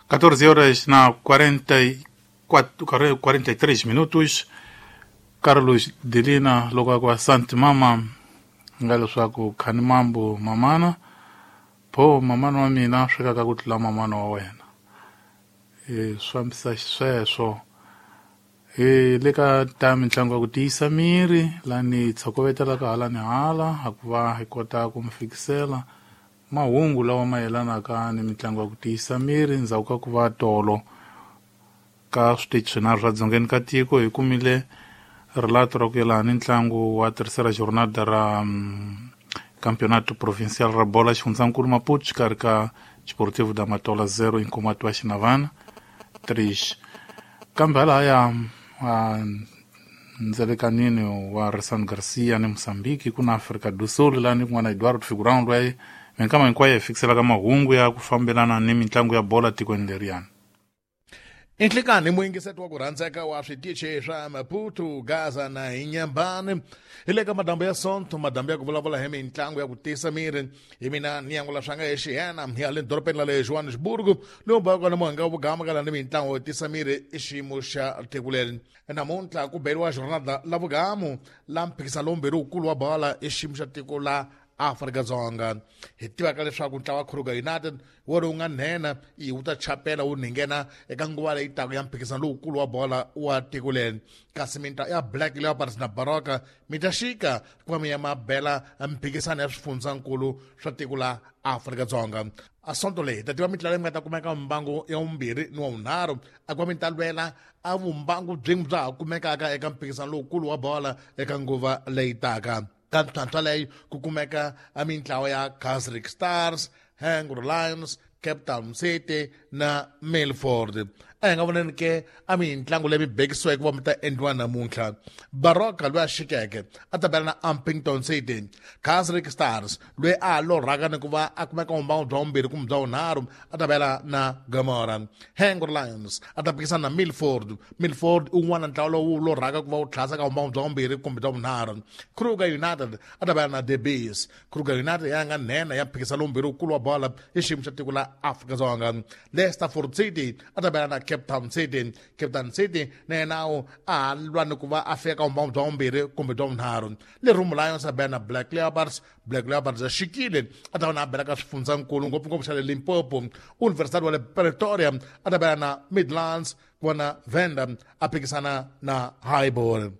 14 horas na 44, 43 minutos. Carlos Delina loko a ku asante mama nga leswaku khani mambo mamana pho mamana wa mina swekaka ku tlula mamana wa wena e swi fambisa xisweswo e le ka ta mitlangu ya ku tiyisa miri lani tshokovetelaka hala ni hala a ku va hi kota ku mi fikisela mahungu lawa ma yelanaka ni mitlangu ya ku tiyisa miri ndzhaku ka ku va tolo ka switichi swinharhu swa dzongeni ka tiko hi kumile relato ra ku yelana ni ntlangu wa terceira jornada ra campeonato provincial ra bola xifundzankulu Maputo xikarhi ka Desportivo da Matola 0 Inkomati wa Xinavana 3 kambe halahaya ndzelekanini wa Resan Garcia ni Mozambique ku na Afrika do Sul lani kun'wana Eduardo Figurão loyi minkama hinkwayo hi fikiselaka mahungu ya ku fambelana ni mitlangu ya bola tikweni leriyani. Inhlikani muyingiseti wa ku rhandzeka wa switichi swa Maputo, Gaza na Inyambani hi le ka madambu ya Sonto, madambu ya ku vulavula hi mitlangu ya ku tiyisa miri. Hi mina ni yangula swanga hi xiyena hi le dorobeni ra le Johannesburg, lowu baka na muhanga wa vugama ka ni mitlangu yo tiyisa miri i xiyimo xa tiko leri. Namuntlha ku beriwa jornada la vugamu la mphikisano lowumbirhi wukulu wa bola i xiyimo xa tiko la Afrika-Dzonga. Hi tivaka leswaku ntlawa wa Kruger United wo lowu nga nhenha i wu ta chapela wu nghena eka nguva leyi taka ya mphikizano lowukulu wa bola wa tiko leri, kasi mintlawa ya Black Leopards na Baroka mi ta xika ku va mi ya mabela mphikizano ya swifundzankulu swa tiko la Afrika-Dzonga. A sonto leyi hi ta tiva mitlawa leyi mi nga ta kumeka mbangu ya vumbirhi ni wa vunharhu a ku va mi ta lwela a vumbangu byin'we bya ha kumekaka eka mphikizano lowukulu wa bola eka nguva leyi taka. Ka ntlhantlha leyi ku kumeka a mintlawa ya Casric Stars, Hangro Lions, Cape Town City na Milford. A hi nga voneni ke a mintlangu leyi mi bekisiweke ku va mi ta endliwa namuntlha. Baroka loyi a xikeke a ta bela na Ampington City. Casric Stars loyi a lorhaka ni ku va a kumeka vumbangu bya vumbirhi kumbe bya vunharhu a ta bela na Gomora. Hangro Lions a ta pikisana na Milford. Milford i wun'wana ntlawa lowu lorhaka ku va wu tlhasa ka vumbangu bya vumbirhi kumbe bya vunharhu. Kruger United a ta bela na The Bees. Kruger United ya nga nhenha ya mphikizano lowumbirhi wukulu wa bola i xiyimo xa tiko la Afrika-Dzonga. Leisterford City a ta bela na Cape Town City. Cape Town City na yena a lwa ni ku va a fika ka vumbangu bya vumbirhi kumbe bya vunharhu. Lerumo Lions a bela na Black Leopards. Black Leopards a xikile a ta va na a bela ka swifundzankulu ngopfungopfu xa le Limpopo. University wa le Pretoria a ta bela na Midlands, ku va na Venda a phikisana na Highbury.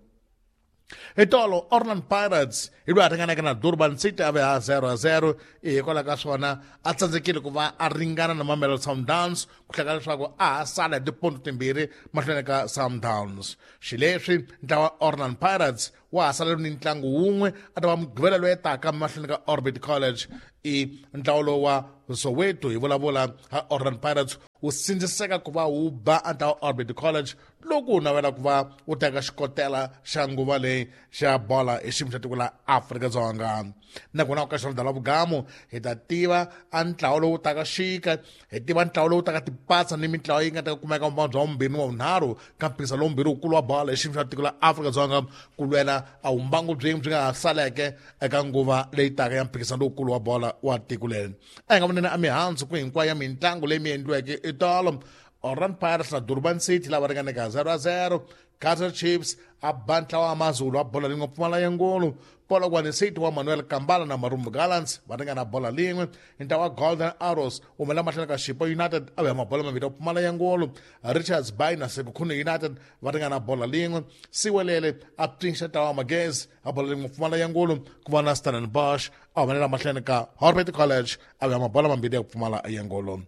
Hi tolo Orlando Pirates hi loyi a ringanaka na Durban City a ve ha 0-0 hikwalaho ka swona a tsandzekile ku va a ringana na Mamelodi Sundowns ku hleka leswaku a ha sala hi tiponto timbirhi mahlweni ka Sundowns. Xileswi ntlawa Orlando Pirates wa ha salele ni ntlangu wun'we a ta va mugqivela loyi taka mahlweni ka Orbit College. I ntlawa lowu wa Soweto hi vulavula ha Orlando Pirates wu sindziseka ku va wu ba a ntlawa Orbit College loko wu navela ku va wu teka xikotela xa nguva leyi xa bola hi xiyimo xa tiko la Afrika-Dzonga. Nakona ka xona la vugamu hi ta tiva a ntlawa lowu taka xika, hi tiva ntlawa lowu taka tipatsa ni mintlawa yi nga ta kumeka vumbangu bya vumbirhi ni wa vunharhu ka mphikizano lowumbirhi wukulu wa bola hi xiyimo xa tiko la Afrika-Dzonga ku lwela a vumbangu byin'we byi nga ha saleke eka nguva leyi taka ya mphikizano lowukulu wa bola wa tiko leri. A hi nga voneni a mihandzu ku hinkwayo ya mitlangu leyi mi endliweke etolo. Orlando Pirates na Durban City lava ringaneke 0-0. Kaizer Chiefs a ba ntlawa wa Amazulu a bola lin'we pfumala ya ngolo. Polokwane City wa Manuel Kambala na Marumo Gallants va ringana bola lin'we. Ntlawa wa Golden Arrows wu humela mahlweni ka Chipo United a vuya mabola mambirhi ya pfumala ya ngolo. Richards Bay na Sekhukhune United va ringana bola lin'we. Siwelele a pfinxa ntlawa wa Magezi a bola lin'we pfumala ya ngolo. Ku va na Stellenbosch a humelela mahlweni ka Orbit College a vuya mabola mambirhi ya ku pfumala ya ngolo.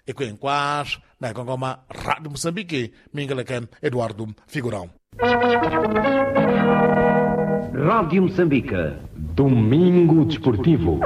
I ku hinkwaswo na hi kongoma Radio Mozambique mingeleke Eduardo Figurão. Rádio Moçambique. Domingo Desportivo.